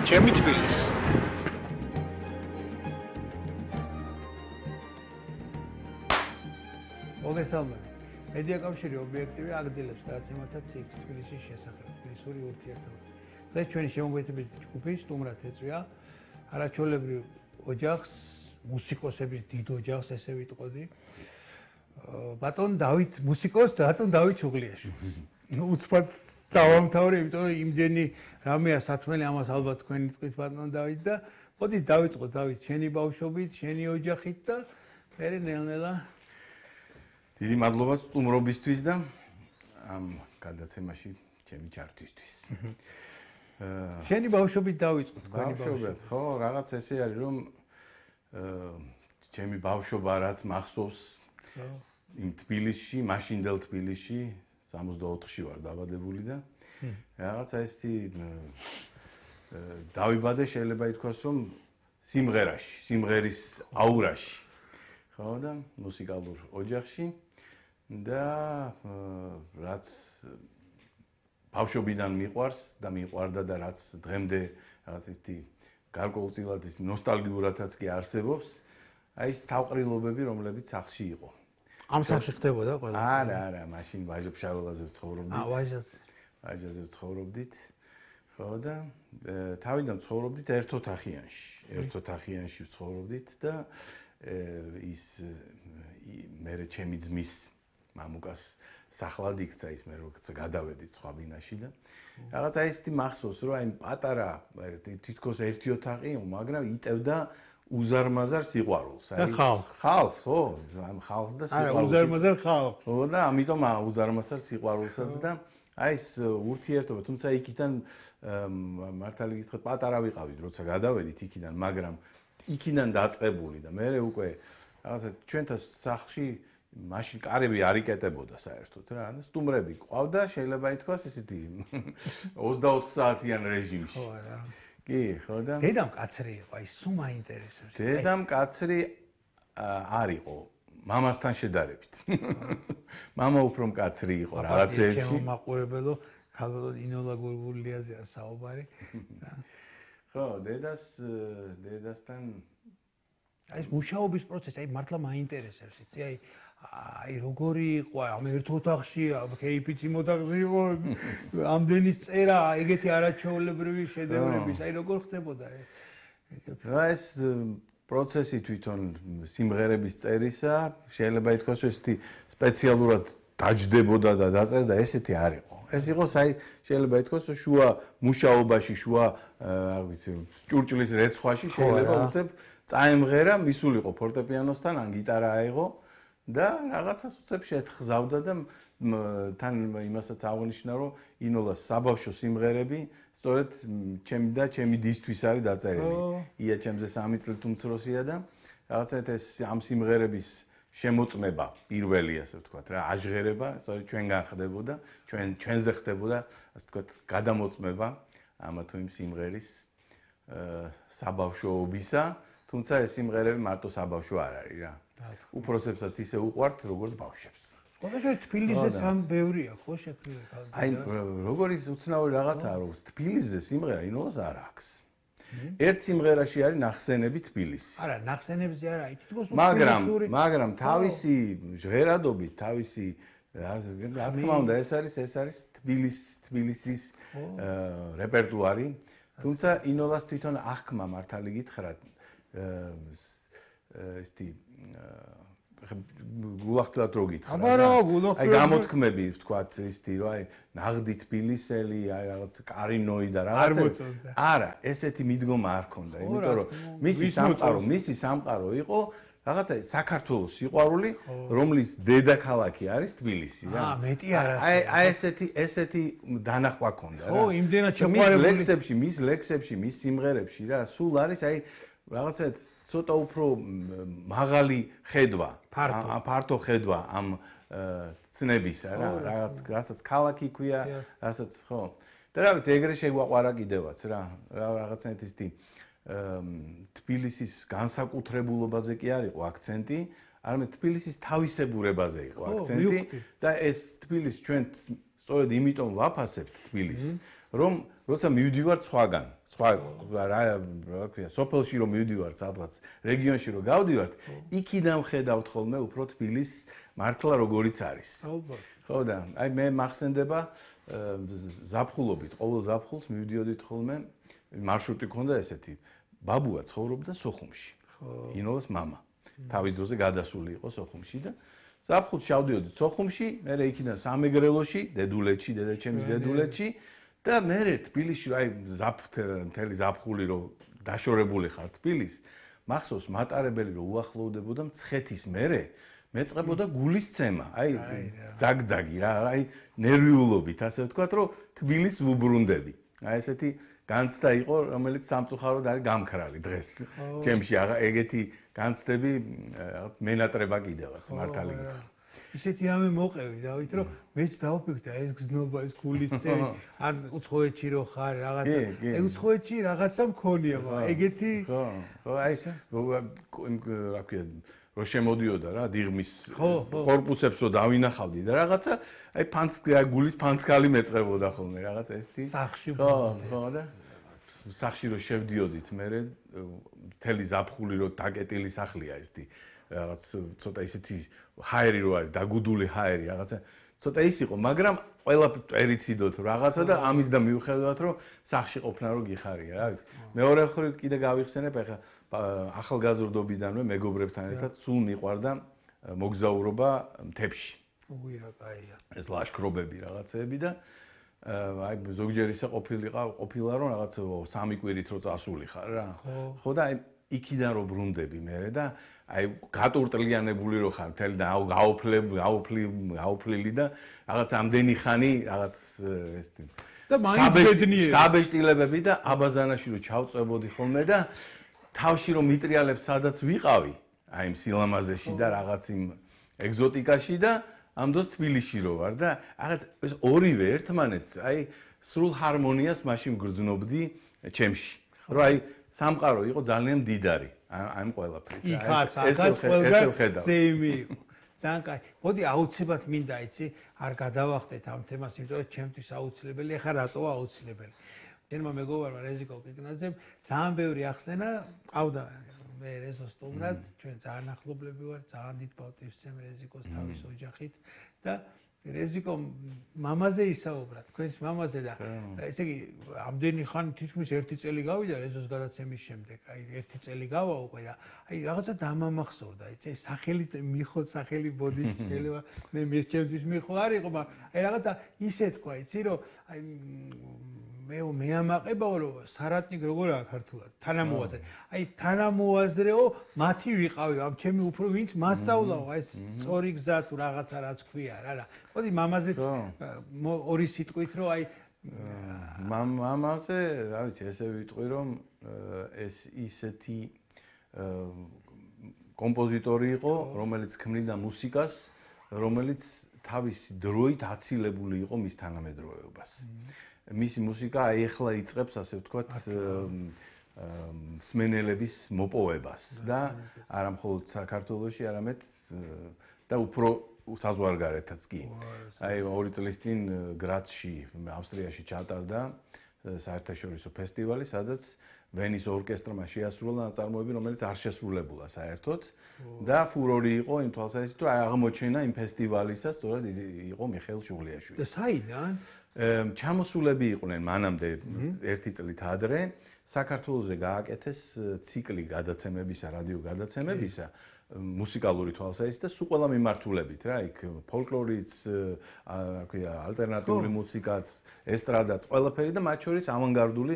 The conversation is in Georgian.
ჩემი თბილისი. მოგესალმებით. მედია კავშირი ობიექტივი აგრძელებს გადაცემათა ციკლს თბილისის შესახებ, თბილისური ურთიერთობები. დღეს ჩვენი შემოგვეთებითი ჯგუფი სტუმრად ეწვია არაჩვეულებრივ ოჯახს, მუსიკოსების დიდ ოჯახს, ესე ვიტყოდი. ბატონ დავით მუსიკოს, ბატონ დავით ჩუღლიაშვილს. უცბად დავამთავრე, იმიტომ რომ იმდენი რამეა სათმელი, ამას ალბათ თქვენი თქვით ბატონ დავით და მოდი დავიწყოთ დავით შენი ბავშვობით, შენი ოჯახით და მე ნელ-ნელა დიდი მადლობა სტუმრობისთვის და ამ გადაცემაში ჩემი ჩართვისთვის. შენი ბავშვობით დავიწყოთ, ბავშვობად, ხო, რაღაც ესე არის, რომ ჩემი ბავშვობა რაც მახსოვს იმ თბილისში, მაშინდელ თბილისში 64-ში ვარ დაბადებული და რაღაცა ესეთი დავიბადე, შეიძლება ითქვას, რომ სიმღერაში, სიმღერის აურაში. ხო და მუსიკალურ ოჯახში და რაც ბავშვობიდან მიყვარს და მიყვარდა და რაც დღემდე რაღაც ისეთი გარკვეულწილად ის ნოსტალგიურადაც კი არსებობს, აი ეს თავყრილობები, რომლებიც სახლში იყო. ამ სახლში ხდებოდა ყველა? არა, მაშინ ვაჟა-ფშაველაზე ვცხოვრობდით. ვაჟაზე ვცხოვრობდით. ხო და თავიდან ვცხოვრობდით ერთ-ოთახიანში ვცხოვრობდით და ის მე ჩემი ძმის მამუკას სახლად იქცა ის მე როგორც გადავედით სხვა ბინაში და რაღაცა ისეთი მახსოვს რომ აი პატარა თითქოს ერთი ოთახი მაგრამ იტევდა უზარმაზარ სიყვარულს აი ხალხს ხო ამ ხალხს და სიყვარულს უზარმაზარ ხალხს ხო და ამიტომ უზარმაზარ სიყვარულსაც და აი ეს ურთიერთობა თუმცა იქიდან მართალი გითხრათ პატარა ვიყავით როცა გადავედით იქიდან მაგრამ იქიდან დაწყებული და მე უკვე რაღაცა ჩვენთან სახლში მაშინ კარები არ იკეტებოდა საერთოდ რა და სტუმრები ყავდა შეიძლება ითქვას ისეთი 24 საათიან რეჟიმში ხო რა კი ხო და დედამ კაცრი იყო აი სულ მაინტერესებს დედამ კაცრი არ იყო მამასთან შედარებით მამა უფრო მკაცრი იყო რაღაცეებში ჩემო მაყურებელო ქალბატონ ინოლა გურგულიაზეა საუბარი ხო, დედასთან აი ეს მუშაობის პროცესი, აი მართლა მაინტერესებს, იცი, აი როგორი იყო, ამ ერთ ოთახში, кейფიც იმ ოთახში იყო, ამდენი წერა, ეგეთი არაჩვეულებრივი შედევრების, აი როგორ ხდებოდა ეს პროცესი თვითონ სიმღერების წერისა, შეიძლება ითქვას, რომ ესეთი სპეციალურად დაჯდებოდა და დაწერდა, ესეთი არ იყო. ეს იყო შეიძლება ითქვას შუა მუშაობაში, შუა არ ვიცი, ჭურჭლის რეცხვაში შეიძლება უცებ წაემღერა, მისულიყო ფორტეპიანოსთან, ან გიტარა აიღო და რაღაცას უცებ შეთხზავდა და თან იმასაც აღნიშნა, რომ ინოლას საბავშვო სიმღერები სწორედ ჩემი და ჩემი დისთვის არის დაწერილი. ია ჩემზე 3 წლით უმცროსია და რაღაცა ეს ამ სიმღერების შემოწმება პირველი ასე ვთქვათ რა აჟღერება სწორედ ჩვენგან ხდებოდა ჩვენზე ხდებოდა ასე ვთქვათ გადამოწმება ამა თუ იმ სიმღერის საბავშვობისა თუმცა ეს სიმღერები მარტო საბავშვო არ არის რა უფროსებსაც ისე უყვართ როგორც ბავშვებს ყოველთვის თბილისეც ამ ბევრია ხო შექმნილი აი როგორი უცნაური რაღაცაა რომ თბილისზე სიმღერა ინოლას არ აქვს ერთ სიმღერაში არის ნახსენები თბილისი. არა, ნახსენებზე არა, თითქოს მაგრამ თავისი ჟღერადობით, თავისი რა თქმა უნდა, ეს არის თბილისის რეპერტუარი. თუმცა ინოლას თვითონ აღქმა მართალი გითხრათ ესეთი გულახდილად რო გითხრა. აი გამოთქმები ვთქვათ ისეთი რომ აი ნაღდი თბილისელი, აი რაღაც კარინოი და რაღაცა. არა, ესეთი მიდგომა არ ქონდა, იმიტომ რომ მისი სამყარო იყო რაღაცა საქართველოს სიყვარული, რომლის დედაქალაქი არის თბილისი რა. მეტი არა. აი ესეთი დანახვა ქონდა რა. ხო, იმდენად შეყვარებული. მის ლექსებში, მის სიმღერებში რა, სულ არის აი რაღაცა ცოტა უფრო მაღალი ხედვა, ფართო ხედვა ამ ცნებისა რა, რასაც ქალაქი ქვია, რასაც ხო. და რა ვიცი, ეგრე შეგვაყვარა კიდევაც რა, რაღაცნაირად ისეთი თბილისის განსაკუთრებულობაზე კი არ იყო აქცენტი, არამედ თბილისის თავისებურებაზე იყო აქცენტი და ეს თბილისი ჩვენ სწორედ იმიტომ ვაფასებთ თბილისს, რომ როცა მივდივარ სხვაგან, რა ქვია, სოფელში რომ მივდივარ, სადღაც რეგიონში რომ გავდივართ, იქიდან ვხედავთ ხოლმე უფრო თბილის მართლა როგორიც არის. ხო და აი მე მახსენდება ზაფხულობით, ყოველ ზაფხულს მივდიოდით ხოლმე, მარშრუტი ქონდა ესეთი. ბაბუა ცხოვრობდა სოხუმში. ინოლას მამა. თავის დროზე გადასული იყო სოხუმში და ზაფხულს ჩავდიოდით სოხუმში, მე იქიდან სამეგრელოში, დედულეთში, დედაჩემის დედულეთში და მე თბილისში აი მთელი ზაფხული რომ დაშორებული ხარ თბილის, მახსოვს მატარებელი რომ უახლოვდებოდა მცხეთის მერე მეწყებოდა გულისცემა, აი ძაგძაგი რა, აი ნერვიულობით, ასე ვთქვათ, რომ თბილის ვუბრუნდები. აი ესეთი განცდა იყო, რომელიც სამწუხაროდ არის გამქრალი დღეს. ჩემში ეგეთი განცდები მენატრება კიდევაც, მართალი გითხრა. ისეთი რამე მოყევი, დავით, რომ მეც დავფიქრე, ეს გზნობა, ეს გულისცემი, ან უცხოეთში რო ხარ, რაღაცა, უცხოეთში რაღაცა მქონია, ეგეთი ხო, აი რა ქვია რო შემოდიოდა რა დიღმის корпуსებს რო დავინახავდი და რაღაცა აი გულის ფანცკალი მეწყებოდა ხოლმე რაღაცა ესეთი სახში ხო და სახში რო შევდიოდით მე მთელი ზაფხული რო დაკეტილი სახლია ესეთი რაღაც ცოტა ისეთი ჰაერი რო არის დაგუდული ჰაერი რაღაცა ცოტა ის იყო მაგრამ ყველა ერიციდოთ რაღაცა და ამის და მივხვდათ რომ სახში ყოფნა რო გიხარია რა მეორე ხრი კიდე გავიხსენებ ახლა ახალგაზრდობიდანვე მეგობრებთან ერთად სულ მიყვარდა მოგზაურობა მთებში. უღირა კაია. ეს ლაშქრობები რაღაცეები და აი ზოგჯერ ისე ყოფილა რომ რაღაც 3 კვირით რო წასული ხარ რა. ხო და აი იქიდან რო ბრუნდები მე და აი გატურტლიანებული რო ხარ მთელი და გაუფლილი და რაღაც ამდენი ხანი რაღაც ეს და მაინც ბედნიერი. შტაბეშტილებები და აბაზანაში რო ჩავწვებოდი ხოლმე და თავში რომ მიტრიალებს სადაც ვიყავი, აი იმ სილამაზეში და რაღაც იმ ეგზოტიკაში და ამ დროს თბილისში რო ვარ და რაღაც ეს ორივე ერთმანეთს აი სრულ ჰარმონიას მაშინ გრძნობდი ჩემში. რომ აი სამყარო იყო ძალიან მდიდარი ამ ყველაფრით. იქაც ყველგან ზეიმი იყო. ძალიან კაი. მოდი აუცილებლად მინდა იცი, არ გადავახტეთ ამ თემას, იმიტომ რომ ჩემთვის აუცილებელი, ეხლა რატოა აუცილებელი. ჩემმა მეგობარმა რეზიკო კიკნაძემ ძალიან ბევრი ახსენა ყავდა მე რეზო სტუმრად ჩვენ ძალიან ახლობლები ვარ ძალიან დიდ პატივს ვცემ რეზიკოს თავის ოჯახით და რეზიკო მამაზე ისაუბრა თქვენს მამაზე და ესე იგი ამდენი ხანი თითქმის 1 წელი გავიდა რეზოს გადაცემის შემდეგ აი 1 წელი გავა უკვე და აი რაღაცა დამამახსოვრდა იცი სახელი მიხოთ სახელი ბოდიში შეიძლება მე მირჩევთვის მიხო არ იყო მაგრამ აი რაღაცა ისე თქვა იცი რომ აი მე ამაყებაო რომ სარატნიკ როგორ აქვს ქართულად თანამოაზრე აი თანამოაზრეო მათი ვიყავი ამ ჩემი უფრო ვინც მასწავლაო ეს სწორი გზა თუ რაღაცა რაც ქვია რა მოდი მამაზეც ორი სიტყვით რომ აი მამაზე რა ვიცი ესე ვიტყვი რომ ეს ისეთი კომპოზიტორი იყო რომელიც ქმნიდა მუსიკას რომელიც თავისი დროით აცილებული იყო მის თანამედროვეობას მისი მუსიკა აი ახლა იწყებს ასე ვთქვათ მსმენელების მოპოვებას და არა მხოლოდ საქართველოში, არამედ და უფრო საზღვარგარეთაც კი. აი 2 წლის წინ გრაცში, ავსტრიაში ჩატარდა საერთაშორისო ფესტივალი, სადაც ვენის ორკესტრმა შეასრულა ნაწარმოები, რომელიც არ შესრულებულა საერთოდ და ფურორი იყო იმ თვალსაზრისით, რომ აღმოჩენა იმ ფესტივალისა სწორედ იყო მიხეილ შუღლიაშვილი. და საიდან? ჩამოსულები იყვნენ მანამდე 1 წლით ადრე საქართველოზე გააკეთეს ციკლი გადაცემებისა, რადიო გადაცემებისა, მუსიკალური თვალსაზრისით და სულ ყველა მიმართულებით რა, იქ ფოლკლორიც, რა ქვია, ალტერნატიული მუსიკაც, ესტრადაც, ყველაფერი და მათ შორის ავანგარდული